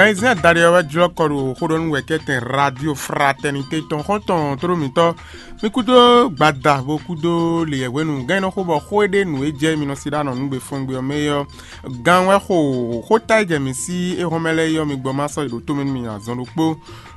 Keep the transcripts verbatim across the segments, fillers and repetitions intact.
Gan e zɛ́n adaɖé ɔ́ wɛ jlɔ́ kɔ ɖo xó ɖɔ nú wɛ̌kɛ́tɛn Radio Fraternité tɔn xɔ́ntɔn tlóló mǐtɔn. Mi kúdó gbada bó kúdó leyɛ̌hwenu gán e nɔ xo bɔ xó e ɖe nǔ e jɛ mi nɔ sí ɖó anɔ nú gbe fɔ́n gbe ɔ́ mɛ é ɔ́, gan wɛ xo xóta e jɛ mǐ sí éhɔ́nmɛ lɛ́ɛ é ɔ́, mi gbɔ má sɔ́ yi ɖǒ tomɛ nú mì azɔn ɖokpó.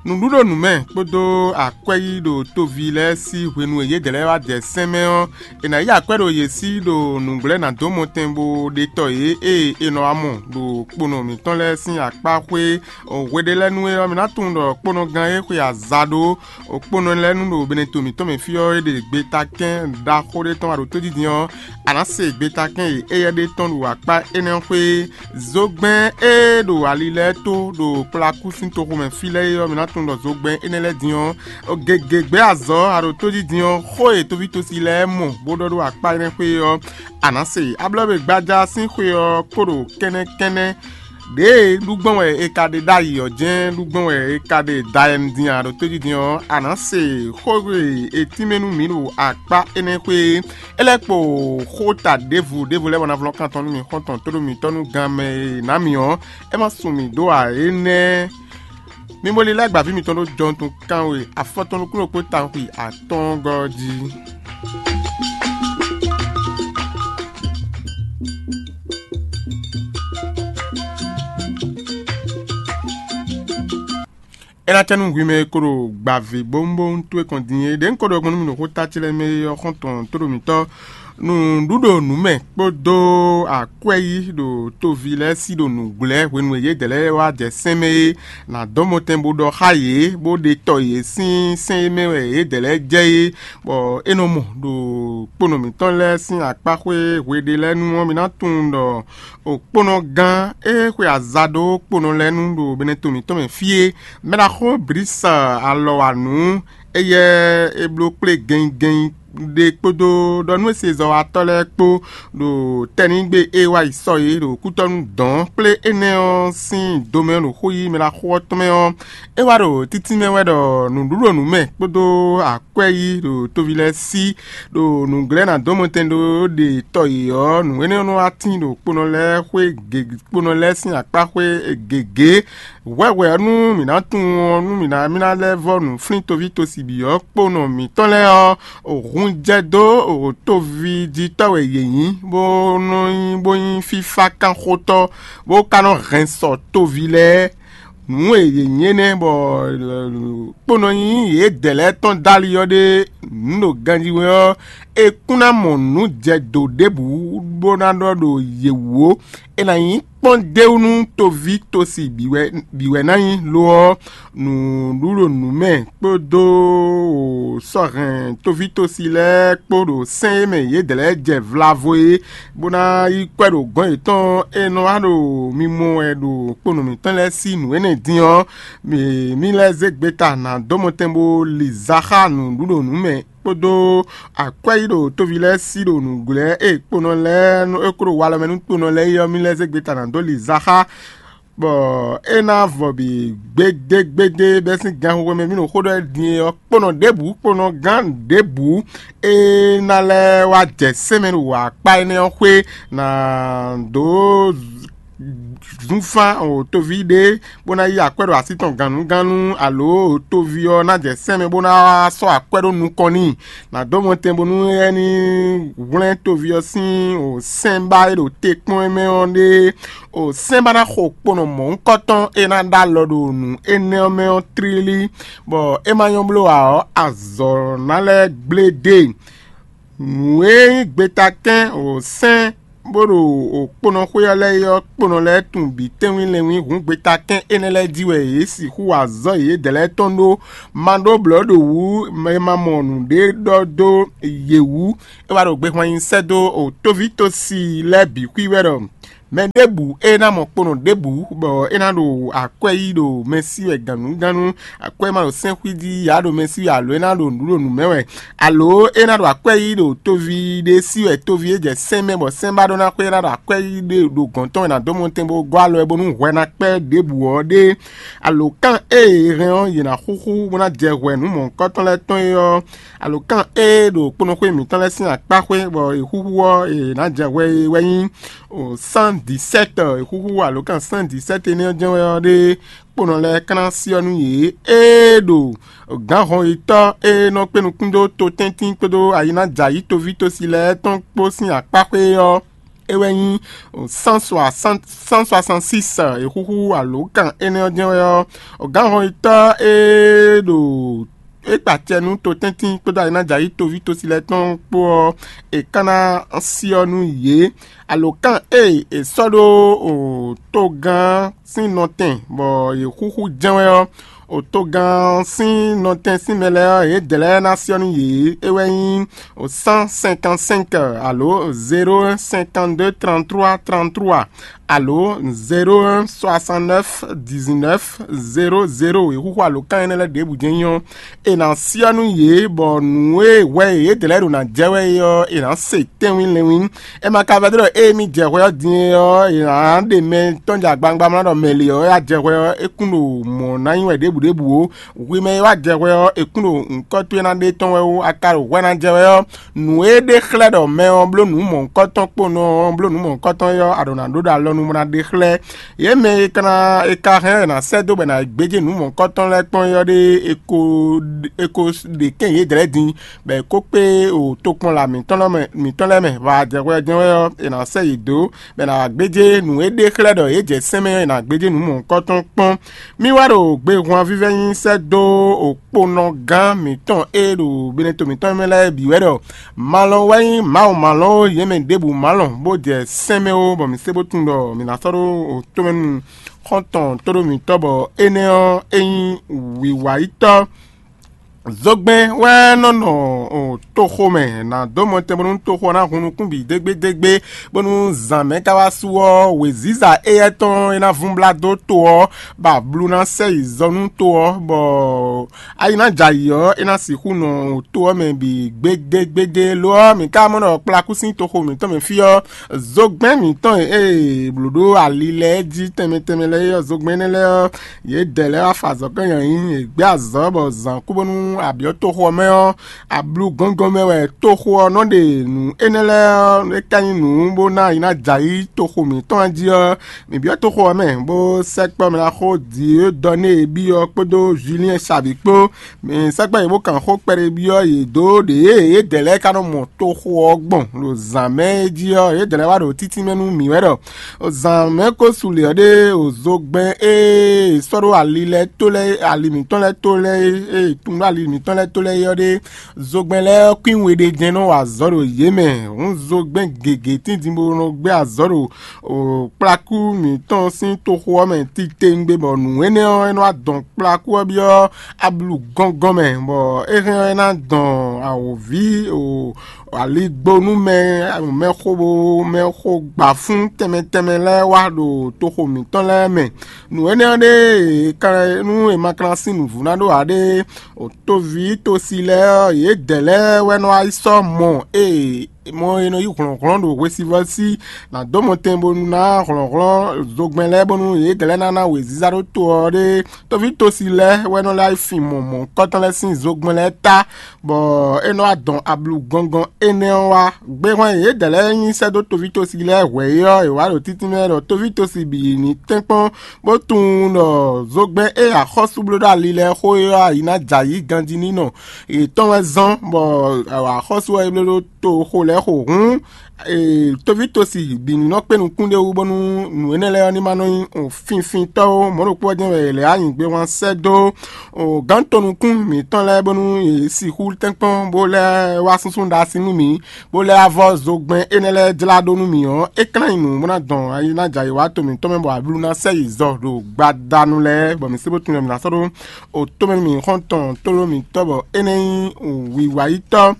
Nǔɖuɖo nǔ mɛ kpódó akwɛ́ yí ɖo tóvi lɛ́ɛ sín hwenu e yědɛɛ lɛ́ɛ wá jɛ sɛ́n mɛ ɔ́, è nǎ yí akwɛ́ ɖo yě sí ɖo nǔgblɛ́ ná dó mɔtɛn bó ɖe tɔ yě ée è nɔ wá mɔ ɖo kponɔ mǐtɔn lɛ́ɛ sín akpá xwé. Hwe ɖé lɛ́ɛ nú é ɔ́, mi ná tunwun ɖɔ kponɔgán e xwe aza ɖó kponɔ lɛ́ɛ nu ɖo Beneto mǐtɔn mɛ fí ɔ́, é ɖe gbetakɛ́n ɖaxó ɖé tɔn wá ɖo tójijin ɔ́, a nǎ se gbetakɛ́n e éyɛ́ ɖe tɔn ɖo akpá énɛ́ xwé. Zogbɛ́n e ɖo ali lɛ́ɛ tó ɖo kplakú sín toxo mɛ fí lɛ́ɛ é ɔ́, mi ná tunwun ɖɔ zogbɛ́n énɛ́ lɛ́ɛ din ɔ́, gěgé gbɛ́ azɔ̌ a ɖo tójijin ɔ́, xó e tóvítosi lɛ́ɛ mɔ bó ɖɔ ɖó akpá énɛ́ xwé ɔ́, a nǎ se. Ablɔ́ e gbaja sín xwe ɔ́ kó ɖo kɛ́nɛ́kɛ́nɛ́. Ɖěe ɖu gbɔn wɛ è ka ɖe ɖ'ayǐ ɔ́ jɛ́n ɖu gbɔn wɛ è ka ɖe dayɛnu din a ɖo tójijin ɔ́, a nǎ se xó e è tínmɛ nú mǐ ɖo akpá énɛ́ xwé é. É lɛ́ kpo xó ta ɖěvo ɖěvo lɛ́ɛ bɔ ná vlɔ́ kan tɔn nú mì xɔ́ntɔn tóɖó mǐtɔn nú gan mɛ e è nǎ mì ɔ́, é ma sun mì dó ǎ énɛ́. Mi bo lilɛ́ gbǎví mitɔn ɖó jɔntunkan we afɔtɔn nukúnnú kpó tawun xwi atɔ́ɔ́ngɔ́ jí. É ná cɛ nú hwi mɛ e ko ɖo gbǎví bónbónú towe kɔn din é. Ɖě un ko ɖɔ gbɔn nú mi ɖo xóta ce lɛ́ɛ mɛ é ɔ́, xɔ́ntɔn tóɖo mǐtɔn nǔɖuɖo nǔ mɛ kpódó akwɛ́ yí ɖo toví lɛ́ɛ sí ɖo nǔgblɛ́ hwenu e yědɛɛ lɛ́ɛ wá jɛ sɛ́n mɛ é, nǎ dɔn mɔtɛn bó ɖɔ xá yě, bó ɖe tɔ yě sín sɛ́n e mɛ wɛ yědɛɛ lɛ́ɛ jɛ é, bɔ é nɔ mɔ ɖo kponɔ mǐtɔn lɛ́ɛ sín akpá xwé hwe ɖé lɛ́ɛ nu ɔ́, mi ná tunwun ɖɔ okponɔgán e xwe aza ɖó kponɔ lɛ́ɛ nu ɖo Beneto mǐtɔn mɛ fí é. Mɛɖaxó Blisa alɔ wa nǔ éyɛ́ é bló kplé gɛnnyigɛnnyi ɖé kpódó ɖɔ nú e se zɔ́watɔ́ lɛ́ɛ kpó ɖo tɛ́nnígbe e wá yi sɔ é ɖo kútɔ́nú dɔ̌n kplé énɛ́ ɔ́ sín domɛ ɖo xó yí mɛɖaxó ɔ́ tɔn mɛ ɔ́, é wá ɖo títínmɛ wɛ ɖɔ nǔɖuɖo nǔ mɛ kpódó akwɛ́ yí ɖo toví lɛ́ɛ sí ɖo nǔglɛ́ ná dó mɔtɛn ɖó ɖe tɔ yě ɔ́, nǔ énɛ́ ɔ́ nɔ wá tín ɖo kponɔ lɛ́ɛ xwé gěgé kponɔ lɛ́ɛ sín akpá xwé gěgé. Hwɛhwɛ ɔ́, nú mǐ ná tunwun ɔ́, nú mǐ ná mì ná lɛ́ vɔ́ nǔ flín toví tosibi ɔ́ kponɔ mǐtɔn lɛ́ɛ ɔ́, hun jɛ dó toví jí tɔ́ wɛ yě nyí, bó nɔ nyí bó nyí fífákánxótɔ́, bó ka nɔ hɛn sɔ toví lɛ́ɛ. Nǔ e yě nyí énɛ́ bɔ kponɔ nyí yědɛɛ lɛ́ɛ tɔn dali ɔ́ ɖe nǔ ɖo ganjí wɛ ɔ́, é kún ná mɔ nǔ jɛ dǒ ɖěbǔ bó ná ɖɔ ɖo yě wú ó. É ná nyí kpɔ́n d'é wú nú toví tosi bǐ wɛ bǐ wɛ ná nyí; lo ɔ́, nǔɖuɖo nǔ mɛ kpódó sɔ́ hɛn toví tosi lɛ́ɛ kpó ɖo sɛ́n e mɛ yědɛɛ lɛ́ɛ jɛ vlavo é, bó ná yí kwɛ́ ɖo gɔ̌n yětɔn e nɔ wá ɖo mimɔ wɛ ɖo kponɔ mǐtɔn lɛ́ɛ sí nǔ énɛ́ din ɔ́, mǐ mì lɛ́ zé gbeta nǎ dó mɔtɛn bó li za xá nǔɖuɖo nǔ mɛ kpódó akwɛ́ yí ɖo toví lɛ́ɛ sí ɖo nǔglɛ́ e kponɔ lɛ́ɛ nɔ é kó ɖo walɔ mɛ nú kponɔ lɛ́ɛ é ɔ́, mì lɛ́ zé gbeta ná dó li za xá, bɔ é ná vɔ bǐ gbédégbédé bɛ́ sín ganxixo mɛ mì ɖo xó ɖɔ din é ɔ́, kponɔ ɖěbǔ kponɔ gán ɖěbǔ e ná lɛ́ wá jɛ sɛ́n mɛ ɖo akpá énɛ́ ɔ́ xwé ná dó zunfán o toví ɖé bó ná yí akwɛ́ ɖo así tɔn gannúgannu, alo toví ɔ́ ná jɛ sɛ́n mɛ bó ná wá sɔ́ akwɛ́ ɖó nukɔn n'i. Nǎ dó mɔtɛn bónú é ní hwlɛ́n toví ɔ́ sín o sɛ́nbá e ɖo te kpɔ́n é mɛ ɔ́ ɖe. O sɛ́nbá ná xo kponɔ mɔ̌hunkɔtɔn e ná ɖó alɔ ɖo nǔ énɛ́ ɔ́ mɛ ɔ́ tlílí, bɔ é ma nyɔ́ bló ǎ ɔ́, azɔ̌ ná lɛ́ gblé dó e. Nǔ e nyí gbetakɛ́n o sɛ́n bó ɖo okponɔxwé ɔ́ lɛ́ɛ é ɔ́, kponɔ lɛ́ɛ tunwun bǐ tɛ́nwí lɛnwí hǔn gbetakɛ́n énɛ́ lɛ́ɛ jí wɛ yě sixú wa azɔ̌ yědɛɛ lɛ́ɛ tɔn ɖó. Ma ɖó blɔ̌ ɖo wǔ è ma mɔ nǔɖé ɖɔ dó yě wú. É wá ɖo gbehwan nyi sɛ́ dó o tóví tosi lɛ́ɛ bǐ xwí wɛ ɖɔ mɛ ɖěbǔ e ná mɔ kponɔ ɖěbǔ bɔ é ná ɖo akwɛ́ yí ɖo mɛ sí wɛ gannúgannu, akwɛ́ ma ɖo sɛ́nxwí jí yǎ ɖo mɛ sí wɛ alo é ná ɖo nǔ ɖo nǔ mɛ wɛ, alo é ná ɖo akwɛ́ yí ɖo toví ɖé sí wɛ toví é jɛ sɛ́n mɛ bɔ sɛ́n ba ɖó ná xwé é ná ɖo akwɛ́ yí ɖe ɖo gɔ̌n tɔn wɛ ná dó mɔtɛn bó gɔ́ alɔ ɛ bónú hwɛ ná kpɛ́ ɖěbǔ ɔ́ ɖé. Alo kán ée è hɛn ɔ́, yě ná xúxú bó ná jɛ hwɛ nǔ mɔ̌hunkɔtɔn lɛ́ɛ tɔn é ɔ́, alo kán ée ɖo kponɔxwé mǐtɔn lɛ́ɛ sín akpá xwé bɔ è xúxú ɔ́, è nǎ jɛ hwɛ é wɛ nyí o sán dix-sept, e xúxú alǒkan cent dix-sept énɛ́ ɔ́ jɛ́n wɛ ɔ́ ɖe kponɔ lɛ́ɛ kán ná syɔ́ nú yě. Ée ɖo gǎnhɔnyitɔ́ e nɔ kpé nukún dó totɛ́ntin kpódó ayi ná jɛ ayǐ toví tosi lɛ́ɛ tɔn kpó sín akpá xwé ɔ́, é wɛ nyí cent soixante-six, e xúxú alǒkan énɛ́ ɔ́ jɛ́n wɛ ɔ́, gǎnhɔnyitɔ́ e ɖo é kpa acɛ nú totɛ́ntin kpódó ayi ná jɛ ayǐ toví tosi lɛ́ɛ tɔn kpó ɔ́, è ka ná syɔ́ nú yě. Alǒkan e è sɔ́ ɖó togán sín nɔtɛn bɔ yě xúxú jɛ́n wɛ ɔ́, togán sín nɔtɛn sín mɛ lɛ́ɛ ɔ́, yědɛɛ lɛ́ɛ ná syɔ́ nú yě. É wɛ nyí cent cinquante-cinq alo zéro un cinquante-deux trente-trois trente-trois alo zéro un soixante-neuf dix-neuf zéro zéro. È xúxú alǒkan énɛ́ lɛ́ɛ ɖěbǔ jɛ́n nyí ɔ́, è nǎ syɔ́ nú yě, bɔ nǔ e hwɛ e yědɛɛ lɛ́ɛ ɖo ná jɛ wɛ é ɔ́, è nǎ se tɛ́nwín lɛ́nwín. É ma ka vɛ́ ɖɔ ée mì jɛ hwɛ ɔ́ din é ɔ́, è nǎ ɖe mɛ tɔn jɛ agbawungba mlá ɖɔ mɛ lě ɔ́ wɛ a jɛ hwɛ ɔ́, é kún ɖo mɔ̌ ná nyí wɛ ɖěbǔ ɖěbǔ ó. Hwi mɛ e wá jɛ hwɛ ɔ́, è kún ɖo nyǐkɔ towe ná ɖe tɔn wɛ ó. A ka ɖo hwɛ ná jɛ wɛ ɔ́, nǔ e ɖe xlɛ́ ɖɔ mɛ ɔ́ bló nǔ mɔ̌hunkɔtɔn kpónɔ ɔ́, bló nǔ mɔ̌hunkɔtɔn ɔ́, a ɖǒ ná ɖó ɖo alɔ nú bó ná ɖe xlɛ́. Yě mɛ e ka ná e ka hɛn ɔ́, è nǎ sɛ́ dó bɔ è nǎ gbéjé nǔ mɔ̌hunkɔtɔn lɛ́ɛ kpɔ́n é ɔ́ ɖe, è ko è ko ɖe kɛ́n yědɛɛ lɛ́ɛ din, bɔ è kó kpé o tokpɔnla mǐtɔn lɛ́ɛ mɛ mǐtɔn lɛ́ɛ mɛ. Vɔ a jɛ hwɛ jɛ́n wɛ ɔ́, è nǎ sɛ́ yě dó, bɔ è nǎ gbéjé nǔ e ɖe xlɛ́ ɖɔ yě jɛ sɛ́n mɛ ɔ́, è nǎ gbéjé nǔ mɔ̌hunkɔtɔn kpɔ́n. Mì wá ɖo gbehwan vívɛ́ nyi sɛ́ dó òkponɔgán mǐtɔn e ɖo Beneto mǐtɔn mɛ lɛ́ɛ bǐ wɛ ɖɔ: Malɔn wɛ nyí Mawu malɔn ó, yě mɛ ɖěbǔ malɔn, bó jɛ sɛ́n mɛ ó, bɔ mǐ se bó tunwun ɖɔ mǐ ná sɔ́ ɖó tomɛ nú xɔ́ntɔn tóɖó mǐtɔn, bɔ énɛ́ ɔ́, é nyí wǐwáyítɔ́. Zogbɛ́n wɛ nɔ nɔ toxo mɛ, nǎ dó mɔtɛn bónú toxo ɔ́ ná hun nukún bǐ dégbédégbé, bónú zǎn mɛ ka wá su ɔ́, wěziza éyɛ́ tɔn e ná vún blá dó to ɔ́, bɔ ablu ná sɛ yi zɔ nú to ɔ́, bɔ ayi ná jɛ ayǐ ɔ́, é ná sixú nɔ to ɔ́ mɛ bǐ gbédégbédé. Lo ɔ́, mǐ ka mɔ ɖɔ kplakú sín toxo mǐtɔn mɛ fí ɔ́, zogbɛ́n mǐtɔn e è blǒ ɖó ali lɛ́ɛ jí tɛnmɛ tɛnmɛ lɛ́ɛ é ɔ́, zogbɛ́n énɛ́ lɛ́ɛ ɔ́, yědɛɛ lɛ́ɛ wá fa azɔ̌ kɛ́n nyi ayǐ, yě gbɛ́ azɔ̌ bɔ zǎn kú bónú abyɔ̌ toxo ɔ́ mɛ ɔ́, ablu gɔ́ngɔ́n mɛ wɛ toxo ɔ́ nɔ ɖe nǔ énɛ́ lɛ́ɛ ɔ́, é ka nyí nǔ bó ná yi ná jɛ ayǐ toxo mǐtɔn jí ɔ́, mǐ byɔ́ toxo ɔ́ mɛ, bó sɛkpɔ́ mɛ ná xó Diodɔnée byɔ́ kpódó Julien Sabi kpó. Mɛ sɛkpɔ́ yě bó kan xó kpɛɖé byɔ́ yě dó ɖě e yědɛɛ lɛ́ɛ ka nɔ mɔ toxo ɔ́ gbɔn ɖo zǎn mɛ é jí ɔ́, yědɛɛ lɛ́ɛ wá ɖo títínmɛ nú mǐ wɛ ɖɔ: Zǎn mɛ ko su lě ɔ́ ɖe, o zogbɛ́n e è sɔ́ ɖó ali lɛ́ɛ tó lɛ́ɛ, ali mǐtɔn lɛ́ɛ tó lɛ́ɛ e è tunwun ɖó ali mǐtɔn lɛ́ɛ tó lɛ́ɛ é ɔ́ ɖe, zogbɛ́n lɛ́ɛ ɔ́ kwín we ɖé jɛ́n nɔ wa azɔ̌ ɖo yě mɛ. Hǔn zogbɛ́n gěgé tíntin bó nɔ gbé azɔ̌ ɖo kplakú mǐtɔn sín toxo ɔ́ mɛ titewungbe, bɔ nǔ énɛ́ ɔ́, é nɔ wá dɔn kplakú ɔ́ byɔ́ ablu gɔ́ngɔ́n mɛ, bɔ é hɛn ɔ́, é ná dɔn awǒví o aligbó nú mɛ mɛxó mɛxó gbafún tɛnmɛ tɛnmɛ lɛ́ɛ wá ɖo toxo mǐtɔn lɛ́ɛ mɛ. Nǔ énɛ́ ɔ́ ɖe, è ka nú è ma ka ná sín nǔvú ná ɖó ǎ ɖe, toví tosi lɛ́ɛ ɔ́, yědɛɛ lɛ́ɛ wɛ nɔ wá yi sɔ́ mɔ e mɔ e nɔ yí hlɔ̌nhlɔ́n ɖo hwesivɔ́ sí ná dó mɔtɛn bónú ná hlɔ̌nhlɔ́n zogbɛ́n lɛ́ɛ bónú yědɛɛ lɛ́ɛ ná ná wěziza ɖó to ɔ́ ɖe. Toví tosi lɛ́ɛ wɛ nɔ lɛ́ fin mɔ mɔ̌hunkɔtɔn lɛ́ɛ sín zogbɛ́n lɛ́ɛ ta, bɔ é nɔ wá dɔn ablu gɔngɔn énɛ́ ɔ́ wá. Gbehwan e yědɛɛ lɛ́ɛ nyi sɛ́ dó toví tosi lɛ́ɛ hwɛ̌ é ɔ́, è wǎ ɖo títínmɛ ɖɔ toví tosi bǐ ní tɛ́nkpɔ́n bó tunwun ɖɔ zogbɛ́n e axɔ́sú bló ɖó ali lɛ́ɛ xó é ɔ́, ayi ná jɛ ayǐ ganjí ní nɔ yětɔn wɛ zɔ́n, bɔ axɔ́sú ɔ́ é bló ɖó toxo lɛ́ɛ xo hǔn. Toví tosi bǐ ní nɔ kpé nukún ɖé wú bónú nǔ énɛ́ lɛ́ɛ ɔ́ ní ma nɔ nyí finfintɔ́ ó. Mɔ̌ ɖokpó ɔ́ jɛ́n wɛ è lɛ̌ anyǐgbé wán sɛ́ dó gǎn tɔn nukún mǐtɔn lɛ́ɛ bónú yě sixú tɛ́nkpɔ́n bó lɛ́ wá súnsún ɖo así nú mǐ, bó lɛ́ wá vɔ́ zogbɛ́n énɛ́ lɛ́ɛ jlá ɖó nú mǐ ɔ́, é klán nyi nǔ bó ná dɔn ayi ná jɛ ayǐ wá to mǐtɔn mɛ, bɔ ablu ná sɛ yi zɔ ɖo gbadanu lɛ́ɛ, bɔ mǐ sé bó tunwun mǐ ná sɔ́ ɖó o tomɛ nú mǐ xɔ́ntɔn tlóló mǐtɔn, bɔ énɛ́ nyí wǐwáyítɔ́.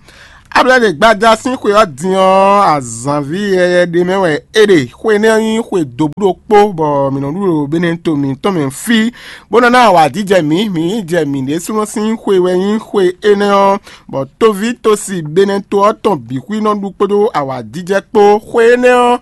Ablaɖegbájá sín xwe ɔ́ din ɔ́, azǎnví yɛyɛ ɖé mɛ wɛ é ɖe. Xwe énɛ́ ɔ́ nyí xwe dǒbú ɖokpó, bɔ mǐ nɔ ɖu ɖo Beneto mǐtɔn mɛ fí, bó nɔ ná awǎjijɛ mǐ. Mǐ yi jɛ mǐ ɖésúnɔ sín xwe wɛ nyí xwe énɛ́ ɔ́, bɔ tóví tosi Beneto ɔ́ tɔn bǐ xwí nɔ ɖu kpódó awǎjijɛ kpó. Xwe énɛ́ ɔ́,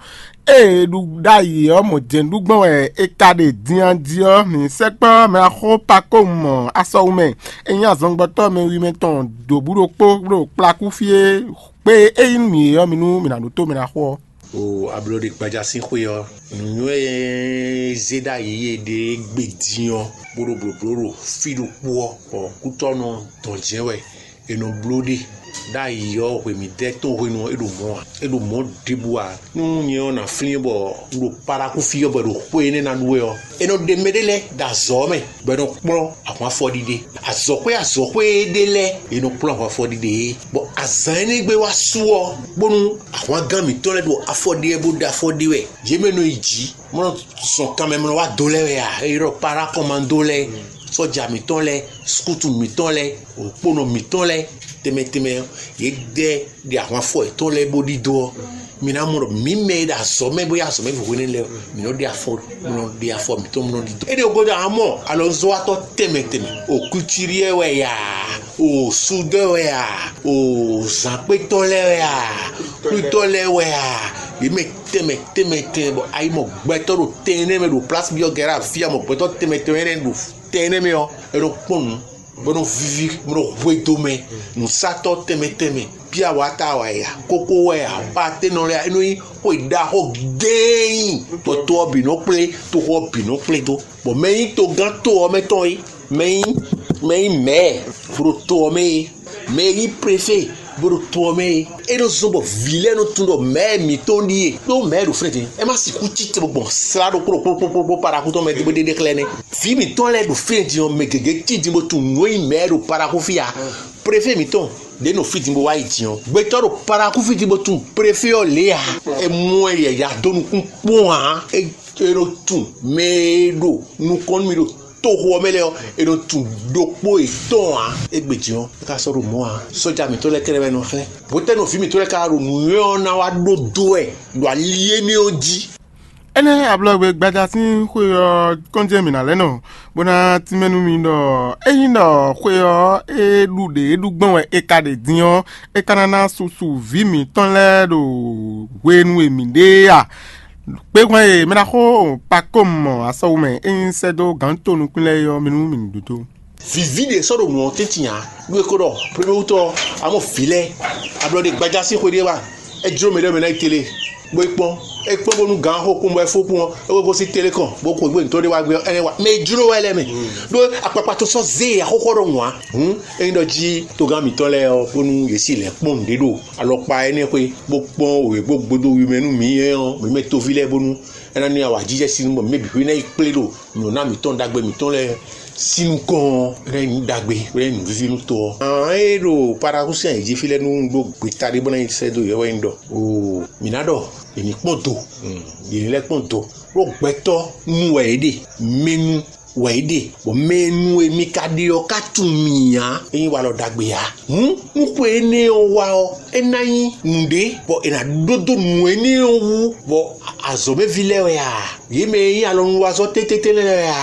ée è ɖu ɖ'ayǐ ɔ́, mɔ̌ jɛ́n ɖu gbɔn wɛ è ka ɖe din a jí ɔ́, mǐ sɛkpɔ́ mɛ axó Pakómu mɔ asɔwu mɛ, é nyí azɔngbɔtɔ́ mɛ wi mɛ tɔn dǒbú ɖokpó ɖo kplakú fí é. Gbe e é nyí nú mǐ é ɔ́, mi nú mǐ ná ɖótó mɛ ná xo ɔ́. O ablɔɖe gbaja sín xwé ɔ́, nǔnywɛ́ e zé ɖ'ayǐ e ɖe gbe din ɔ́, bó ɖo blǒbló ɖo fí ɖokpó ɔ́, bɔ kútɔ́nɔ dɔn jɛ́n wɛ. È nɔ bló ɖe ɖ'ayǐ ɔ́, hwemǐdɛ́ tɔn hwenu ɔ́, é ɖo mɔ̌ ǎ. É ɖo mɔ̌ ɖěbǔ ǎ. Nú nyɛ ɔ́, nǎ flín bɔ un ɖo Parakúfí ɔ́, bɔ è ɖo xwé énɛ́ ná ɖu wɛ ɔ́, é nɔ ɖe mɛɖé lɛ́ɛ ɖo azɔ̌ mɛ, bɔ è nɔ kplɔ́ ahwan afɔɖiɖe. Azɔ̌xwé azɔ̌xwé e ɖe lɛ́ɛ, è nɔ kplɔ́ ahwan afɔɖiɖe é. Bɔ azǎn énɛ́ gbe wá su ɔ́, bónú ahwangán mǐtɔn lɛ́ɛ ɖo afɔ ɖe wɛ bó ɖe afɔ ɖe wɛ, yě mɛ nɔ yi jǐ, mɔ nɔ zɔn kanmɛ mɔ nɔ wá do lɛ́ɛ wɛ a? É ylɔ́ Parákɔmando lɛ́ɛ, sɔ́ja mǐtɔn lɛ́ɛ, skútu mǐtɔn lɛ́ɛ, òkponɔ mǐtɔn lɛ́ɛ, tɛnmɛ tɛnmɛ ɔ́, yě dɛ ɖe ahwan afɔ yětɔn lɛ́ɛ bó ɖidó ɔ́, mi ná mɔ ɖɔ mǐ mɛ e ɖo azɔ̌ mɛ bó yá azɔ̌ mɛ hwehwenu lɛ́ɛ ɔ́, mǐ nɔ ɖe afɔ mɔ nɔ ɖe afɔ mǐtɔn mɔ nɔ ɖidó. Énɛ́ ɔ́ gúdo amɔ alɔnzɔ́watɔ́ tɛnmɛ tɛnmɛ, o kucíɖiɛ wɛ ya, o sudɔ́ wɛ ya, o zǎnkpétɔ́ lɛ́ɛ wɛ ya, kwlítɔ́ lɛ́ɛ wɛ ya, yě mɛ tɛnmɛ tɛnmɛ tɛnmɛ, bɔ ayi mɔ gbɛtɔ́ ɖo tɛn énɛ́ mɛ ɖo plásí byɔ́ gɛ̌ ɖo afí, a mɔ gbɛtɔ́ tɛnmɛ tɛnmɛ énɛ́ ɖo tɛn énɛ́ mɛ ɔ́, é nɔ kpɔ́n nǔ, bó nɔ víví, bó nɔ hwedó mɛ, nǔsatɔ́ tɛnmɛ tɛnmɛ, bíawata wɛ ya, kókó wɛ ya, baténɔ lɛ́ɛ, é nɔ nyí xwe ɖaxó géé, bɔ to ɔ́ bǐ nɔ kplé, toxo ɔ́ bǐ nɔ kplé dó. Bɔ mɛ e nyí togán to ɔ́ mɛ tɔn é, mɛ e nyí mɛ e nyí mɛ̌ɛ bó ɖo to ɔ́ mɛ é, mɛ e nyí prefé bó ɖo to ɔ́ mɛ é, é nɔ zɔ́n bɔ vǐ lɛ́ɛ nɔ tunwun ɖɔ mɛ̌ɛ mǐtɔn ɖíe, ɖó mɛ̌ɛ ɖo fínɛ́ din, é má sixú cí te bó gbɔn slá ɖokpó ɖokpó ɖokpó ɖokpó Parakú tɔn mɛ bó ɖe ɖe xlɛ́ nɛ́. Vǐ mǐtɔn lɛ́ɛ ɖo fínɛ́ din ɔ́, mɛ gěgé cí din bó tunwun nǔ e nyí mɛ̌ɛ ɖo Parakú fí ǎ. Prefé mǐtɔn ɖě nɔ fí din bó wá yi din ɔ́, gbɛtɔ́ ɖo Parakú fí din bó tunwun prefé ɔ́ lě ǎ. É mɔ ɛ yɛ̌yá dó nukún kpɔ́n ǎ. É é nɔ tunwun mɛ e ɖo nukɔn nú mì ɖo toxo ɔ́ mɛ lɛ́ɛ ɔ́, è nɔ tunwun ɖokpó yětɔn ǎ. Égbé din ɔ́, é ka sɔ́ ɖo mɔ̌ ǎ. Sɔ́ja mǐtɔn lɛ́ɛ kɛ́ɖɛ́ wɛ nɔ xlɛ́. Hwetɛ́nu vǐ mǐtɔn lɛ́ɛ ka ɖo nǔnywɛ́ ɔ́ ná wá ɖó dó wɛ ɖo ali énɛ́ ɔ́ jí. Énɛ́ ablɔgbe gbaja sín xwe ɔ́ kɔn jɛ́n mǐ ná lɛ́ nɔ, bó ná tínmɛ nú mi ɖɔ ényí ɖɔ xwe ɔ́ é ɖu ɖě é ɖu gbɔn wɛ è ka ɖe din ɔ́, é ka ná ná susu vǐ mǐtɔn lɛ́ɛ ɖo hwenu e mǐ ɖe é a? Kpéhwɛn e mɛ ná xo Pakɔ́mu mɔ asɔwu mɛ é nyí sɛ́ dó gǎn to nukún lɛ́ɛ é ɔ́, mi nú mǐ ní ɖótó. Vǐví ɖě sɔ́ ɖo nǔ ɔ́ tɛ́ntin ǎ. Nú é ko ɖɔ premier wútu ɔ́, a mɔ vǐ lɛ́ɛ, a blɔ ɖe gbaja sín xwe ɖé wá, é jló mɛ ɖé mɛ ná yi télé, bó é kpɔ́n, é kpɔ́n bónú gǎn xo kpɔ́n bɔ é fó kpɔ́n ɔ́, é ko gosín télé kɔn, bó xweyǐgbe mǐtɔn ɖé wá gbé ɔ́, énɛ́ wá. Mɛ e jló wɛ lɛ́ɛ mɛ, ɖó akpakpa tɔn sɔ́ zé axɔ́xɔ ɖɔhun ǎ. Hǔn ényí ɖɔ jí togán mǐtɔn lɛ́ɛ ɔ́, bónú yě si lɛ̌ kpɔ́n nǔɖé ɖo alɔkpa énɛ́ xwé, bó kpɔ́n wěgbógbódó wi mɛ nú mǐ é ɔ́, mǐ mɛ toví lɛ́ɛ bónú é ná ní awǎjijɛ sín bɔ mǐ mɛ bǐ xwé ná yi kplé ɖo nyɔ̌ná mǐtɔn ɖagbe mǐtɔn lɛ́ɛ sín nukɔn ɔ́, é ná nyí nǔ ɖagbe, é ná nyí nǔvíví nú to ɔ́. Ǎn é ɖo Parakúsi ayǐ jí fí lɛ́ɛ nú ɖó gbeta ɖé bó ná nyi sɛ́ dó yě wɛ nyí ɖɔ, oo, mǐ ná ɖɔ è ní kpɔ́n do, yě ní lɛ́ kpɔ́n do, ɖó gbɛtɔ́ nu wɛ yě ɖe, mɛnu wɛ yě ɖe, bɔ mɛnu e mi ka ɖe ɔ́ ka tunwun mì ǎ, é nyí walɔ ɖagbe ǎ. Hǔn nú xwe énɛ́ ɔ́ wá ɔ́, é ná nyí nǔɖé, bɔ è nǎ ɖó dó nǔ énɛ́ ɔ́ wú, bɔ azɔ̌mɛví lɛ́ɛ wɛ a? Yě mɛ e nyí alɔnulwazɔ́ tɛ́ntɛ́ntɛ́ lɛ́ɛ wɛ a?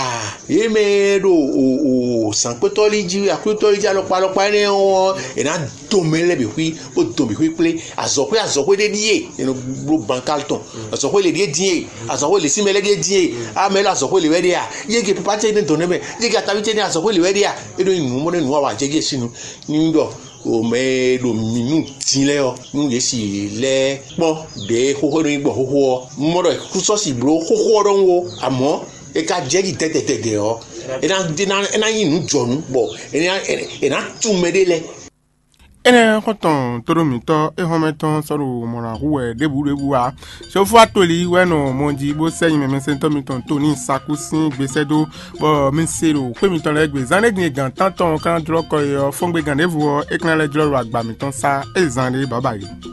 Yě mɛ e ɖo zǎnkpétɔ́ lí jí, akwlítɔ́ lí jí alɔkpa alɔkpa énɛ́ ɔ́, è nǎ dɔn mɛ lɛ́ɛ bǐ xwí, bó dɔn bǐ xwí kplé. Azɔ̌xwé azɔ̌xwé ɖé ɖíe è nɔ bló bankál tɔn. Azɔ̌xwé lě ɖíe dín e, azɔ̌xwé lě sín mɛ lɛ́ɛ ɖíe dín e. Amɛ lɛ́ɛ azɔ̌xwé lě wɛ ɖe a? Yége papa ce ní dɔn nɛ́ mɛ, yége ataví ce ní azɔ̌xwé lě wɛ ɖe a? É ɖo nyí nǔ mɔ nɛ́ nǔ wa wǎ jɛ jí e sín nu. Ní ɖɔ o mɛ e ɖo mǐ nu din lɛ́ɛ ɔ́, nú yě si lɛ́ kpɔ́n ɖě xóxó nɔ nyí gbɔn xóxó ɔ́, un mɔ ɖɔ kúsɔ́si bló xóxó ɔ́ ɖɔhun ó, amɔ̌ è ka jɛ jí tɛtɛtɛtɛ ɔ́, é ná é ná é ná nyí nǔ jɔnǔ, bɔ è ná è ná tunwun mɛɖé lɛ́ɛ. Énɛ́ xɔ́ntɔn tóɖó mǐtɔn éhɔ́nmɛ tɔn sɔ́ ɖo mɔ̌ ná hu wɛ ɖěbǔ ɖěbǔ ǎ. Sofú atoli wɛ nɔ mɔ jí bó sɛ́ nyi mɛmɛsɛntɔ́ mitɔn Toni Saku sín gbe sɛ́ dó, bɔ mi se ɖo xwé mitɔn lɛ́ɛ gbe. Zán ɖé din e gǎn tántɔn ka ná jlɔ́ kɔ e ɔ́, fɔ́ngbegán ɖěvo ɔ́, é ka ná lɛ́ jlɔ́ ɖo agba mǐtɔn sá é zán ɖé bǎbǎ é.